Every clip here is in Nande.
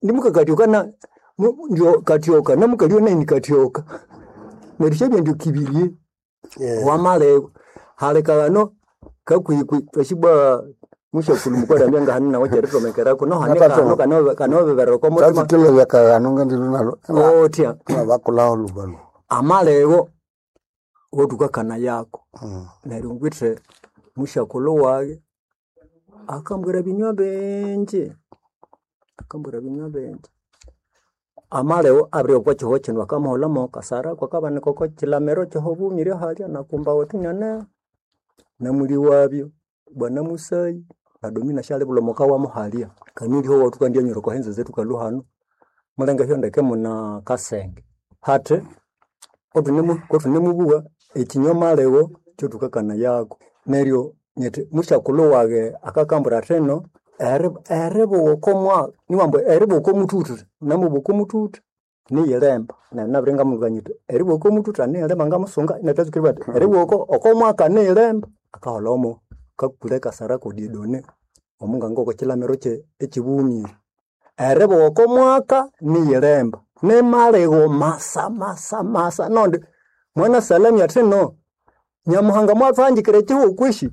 Ndimukakatyoka na ndio katyoka namukalio nayi nikatyoka. Neryo syabya ndio kibirye wamalego halekagano kakwikwi twashibwa mushakulhu mukwalambya ngahano nawe kyeritomekerako nohane kano kano kanobeberera oko mutima Tatutile kagano ngandilo nalo otya bakulaho lubalu. amalego wotukakana yako neryo ngwithe mushakulhu wage akambwira binywa bingi, akambwira binywa bingi. Amalego abiri okwa kihugho kino akamuholha kasara kwakabanika oko kilamiro kyohobumire halya nakumba wethu inane namuli wabyo bwana musayi na domina syalibulha omuka wamu halya kanilyoho wathukandyanyira oko henze zethu kalhu hano mulenge hyondeke muna kasenge hathi kothunemubuwa ekinywa malego kyothukakana yako neryo nyithi musyakulhu wage akakambwira athino eribuwa okomwa niwambu eribuwa okomuthuthu namubuwa okomuthuthu niyilemba neryo nabiri ngamubwira nyithi eribuwa okomuthuthu aniyilemba ngamusunga inathatsukiribwa athi eribuwa okomwaka niyilemba akaholha omo kakule kasara kodiedone omunganga okwakilamiro ekyibumire eribuwa okomwaka niyilemba nimalego masa masa masa nondi mwana salami athino nyamuhanga mwathuhangikira ekihugho kwishi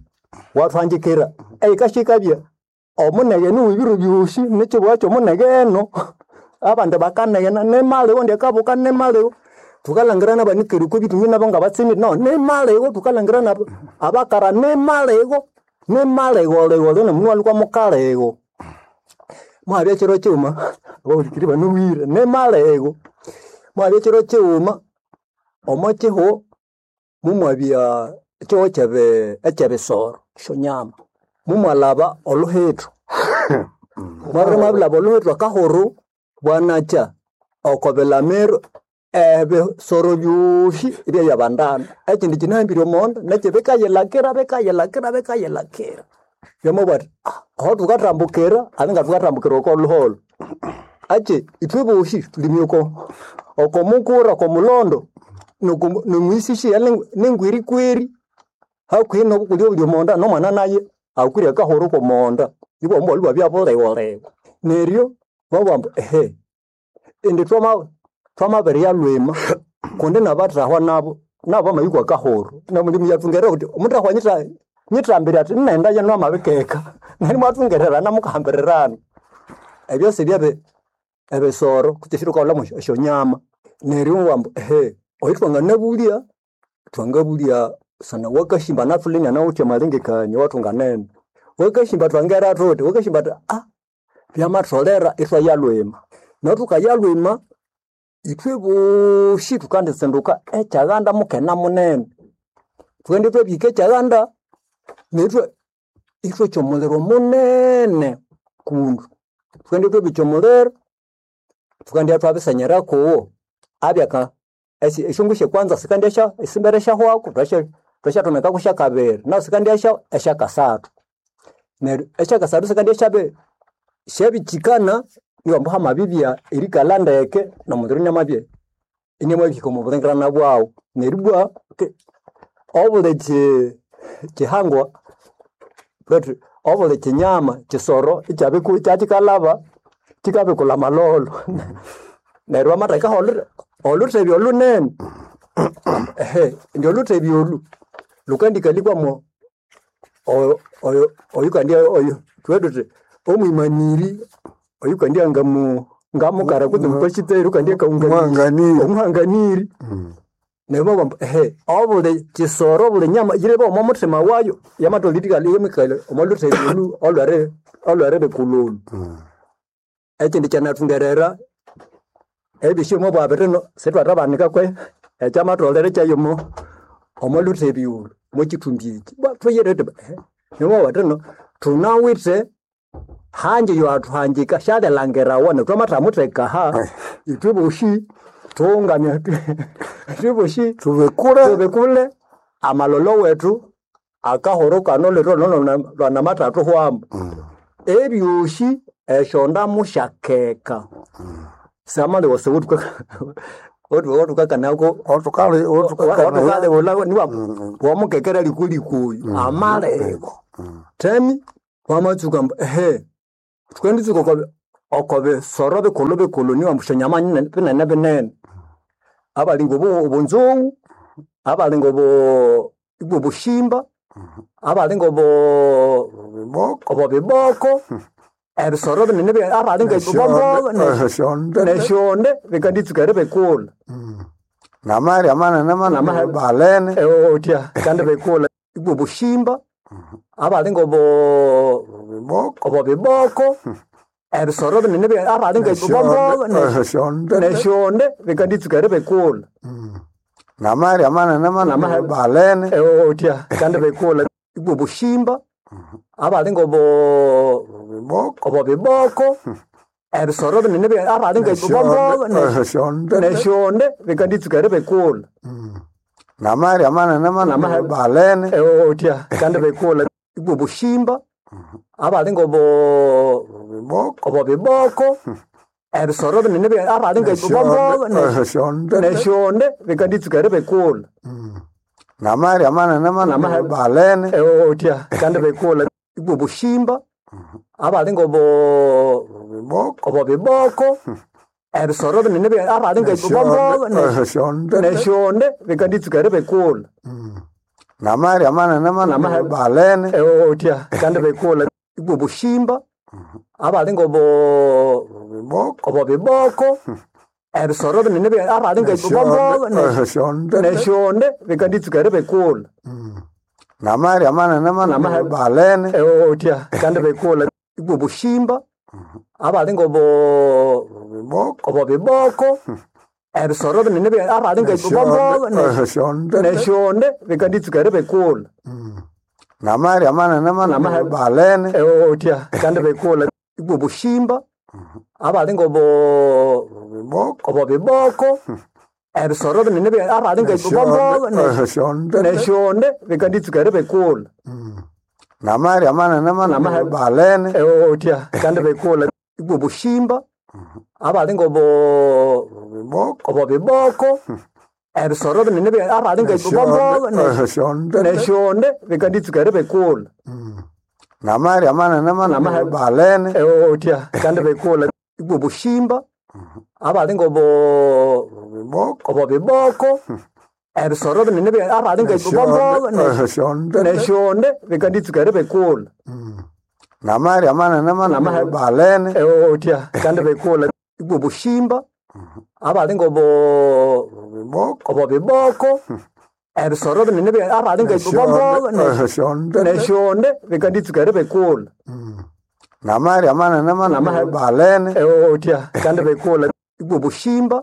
wathuhangikira eyikashikabya omuneghe niwe ebiro byosi nekibugha kyomuneghe eno abandi bakanegena nimalego ndyakabuka nimalego thukalhangira nabanikere okwa bithungi nabo ngabatsimire no nimalego thukalhangira nabo abakara nimalego nimalego lego lino mundu walukwa mukalego mwabya ekiro kighuma abahulikiri banobwire nimalego mwabya ekiro kighuma omo kihugho mumwabya ekihugho ekyebisoro esyonyama mumwalhaba oluhithu mwabiri mwabilhaba oluhithu akahuru bwanakya oko bilamiro ebisoro byosi ibyayabandana ekindi kinahambire omonda nekyo bikayilhakira bikayilhakira bikayilhakira byamabugha athi aho thukathambukira alinga thukathambukira oko luholho akyi ithwe bosi thulimi oko oko mukura oko mulondo nomwisisi nengwirikweri hakuhi nobukulya obuli omonda nomwana naye akwire akahuru komonda ibwa omwali bwabya bulegholego neryo babugha ambu ehe indi twamabiriya lwima kundi nabathahwa nabo nabo bamayikwa akahuru namulimi yathungerera wuthi omuthahwa nyithambire athi ninaghenda namabikeka neryo imwathungererana mukahambirirana ebyo sibye ebisoro kutse esyo esyonyama neryo ibabugha ambu ehe oyu twanganabulya twangabulya sana wakashimba nathuli inanawithe amalengekania awathunganene wakashimba twangera thuthi wakashimba athi byamatholera ithwaya lwima neryo thukaya lwima ithwe bosi thukanditsinduka ekyaghanda mukene munene thukendibya thwabihika ekyaghanda neryo ithwokya omuliro munene kundu thukendibya thwabikya omuliro thukendibya thwabisenyera kuwo abyaka esyongu syekwanza sikandya esimbere syahwako thwasyathomekako syakabiri nahu sikandya esyakasathu neryo esyakasathu sikandya syabikyikana iwambu hamabibya erikalha ndeke nomuliro inamabya inamabihika omo bulengekana bwaghu neryo ibwa obuli kihangwa betu obuli kinyama kisoro ikyakyikalhaba kyikabikulha amalholo neryo bamathekaho olhuthebya olhunene ehe indi olhuthebya olhu lhukandikalhikwamo oyukandya oyo thubughe thuthi omwimaniri oyukandya ngamukara kutse mupasiteri oyukandya omuhanganiri neryo babugha ambu ehe obuli kisoro obuli nyama yirebe omo muthima wayo yamatholere erikalha omo lhuthebya olhu olhweribikulha olhu ekindi kyanathungerera ebyosi omwabugha bithi sithwathabanika kwe ekyamatholere kyayo omo lhuthebya olhu omwakithumbi eki thuyire thuthi neryo bamabugha bathi thunawithe hanji yowathuhangika syalilangirawa neryo thwamathamutheka aha ithwe bosi thughungane ithwe bosi thubikule amalholo wethu akahuru kano lethu lwanamathathuhwamu ebyosi esyondamu syakeka samalego otukakanako otukalibulha wamukekera likuliku oyu amalego themi wamatsuka ambu ehe thukenditsuka Oko bisoro bikulhu bikulhu niwambu esyonyama binene binene. Abali ng'obunzughu, abali ng'obushimba, abali ng'obubiboko, ebisoro binene abali ng'esyonde bikanditsuka eribikulha. Namalya manene manene balene. Otya bikandibikulha. Obushimba, abali ng'obubiboko, ebisoro binene abali ng'esyonde bikanditsuka eribikulha. Namalya manene manene balene. Otya bikandibikulha. Obushimba, abali ng'obubiboko, ebisoro binene abali ng'esyonde bikanditsuka eribikulha. Namalya manene manene balene. Otya bikandibikulha. Obushimba, abali ng'obubiboko, ebisoro binene abali ng'esyonde bikanditsuka eribikulha. Namalya manene manene balene. Otya bikandibikulha. Obushimba, abali ng'obubiboko, ebisoro binene abali ng'esyonde bikanditsuka eribikulha. Namalya manene manene balene. Otya bikandibikulha. Obushimba, abali ng'obubiboko, ebisoro binene abali ng'esyonde bikanditsuka eribikulha. Namalya manene manene balene. Otya bikandibikulha. Obushimba, abali ng'obubiboko, ebisoro binene abali ng'esyonde bikanditsuka eribikulha. Namalya manene manene balene. Otya bikandibikulha. Obushimba, abali ng'obubiboko, ebisoro binene abali ng'esyonde bikanditsuka eribikulha. Namalya manene manene balene. Otya bikandibikulha. Obushimba, abali ng'obubiboko, ebisoro binene abali ng'esyonde bikanditsuka eribikulha. Namalya manene manene balene. Otya bikandibikulha. Obushimba, abali ng'obubiboko, ebisoro binene abali ng'esyonde bikanditsuka eribikulha. Namalya manene manene balene. Otya bikandibikulha. Obushimba, abali ng'obubiboko, ebisoro binene abali ng'esyonde bikanditsuka eribikulha. Namalya manene manene balene. Otya bikandibikulha. Obushimba,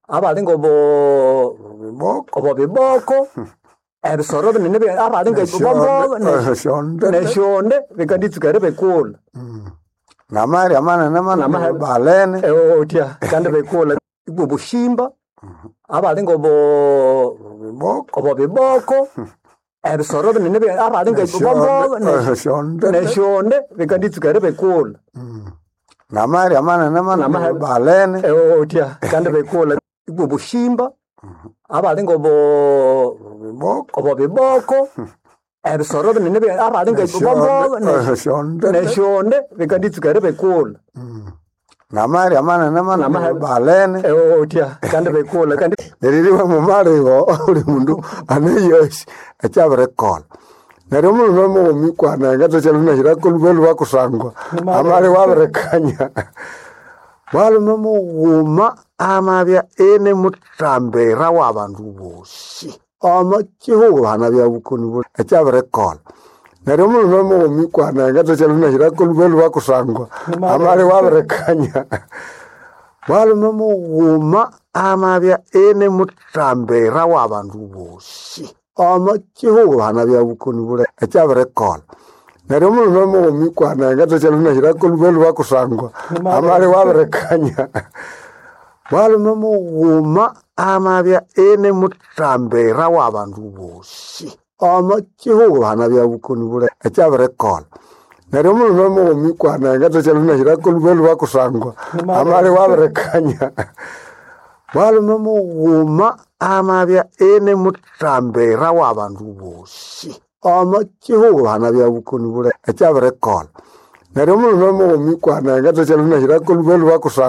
abali ng'obubiboko, ebisoro binene abali ng'esyonde bikanditsuka eribikulha. Namalya manene manene balene. Otya bikandibikulha. Obushimba, abali ng'obubiboko, ebisoro binene abali ng'esyonde bikanditsuka eribikulha. Namalya manene manene balene. Otya bikandibikulha. Obushimba, abali ng'obubiboko, ebisoro binene abali ng'esyonde bikanditsuka eribikulha. Namalya manene manene balene. Otya bikandibikulha. Neririwa mumaligho buli mundu aneyosi ekyabirikolha. Neryo omulhume mughuma ikwana ngathakyalunahirako lhubalhuba kusangwa amaligho abirikanya. Mwalume mughuma amabya ini muthambira w'abandu bosi omo kihugho hanabya bukoni buli ekyabirikolha. Neryo omulhume mughuma ikwana ngathakyalunahirako lhubalhuba kusangwa amaligho abirikanya. Mwalume mughuma amabya ini muthambira w'abandu bosi omo kihugho hanabya bukoni buli ekyabirikolha. Neryo omulhume mughuma ikwana ngathakyalunahirako lhubalhuba kusangwa amaligho abirikanya. Mwalume mughuma amabya ini muthambira w'abandu bosi omo kihugho hanabya bukoni buli ekyabirikolha. Neryo omulhume mughuma ikwana ngathakyalunahirako lhubalhuba kusangwa amaligho abirikanya. Mwalume mughuma amabya ini muthambira w'abandu bosi omo kihugho hanabya bukoni buli ekyabirikolha. Neryo omulume mughuma ikwanenga ngathasyalunahirako lhuba lhuba kusangwa.